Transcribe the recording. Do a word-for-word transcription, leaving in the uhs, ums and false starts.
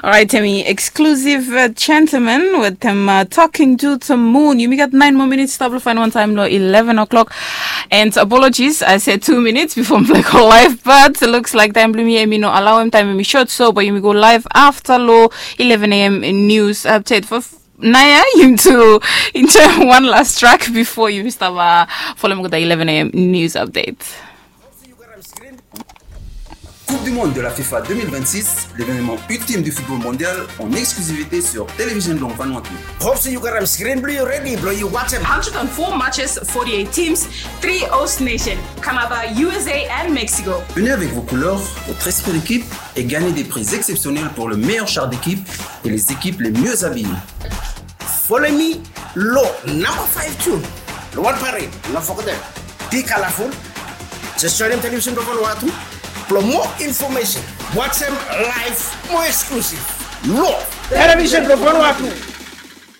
Alright, hemi exclusive uh, gentleman with him uh, talking to the moon. Yumi gat nine more minutes stap lo fain wan taem lo eleven o'clock. And apologies, I said two minutes before mi play go live, but looks like taem blo mi hemi no allow him, taem hemi short, so but yumi go live after lo eleven a.m. news update for Naya, yumi tu enjoy one last track before yumi stap uh, follow mi go the eleven a.m. news update. Coupe du Monde de la FIFA deux mille vingt-six, l'événement ultime du football mondial en exclusivité sur Télévision Blanc Vanuatu. Hope se yu gat am screen blong yu ready blong yu watch am. Hundred and four matches, forty-eight teams, three host nation, Kanada, U S A and Mexico. Venez avec vos couleurs, votre esprit d'équipe et gagnez des prix exceptionnels pour le meilleur char d'équipe et les équipes les mieux habillées. Follow me lo number five tune lo wan parade, no forget am. Be colorful. Just join dem Television Blo Vanuatu. Blo more information, watch dem live, more exclusive. Lo Television Blo Vanuatu.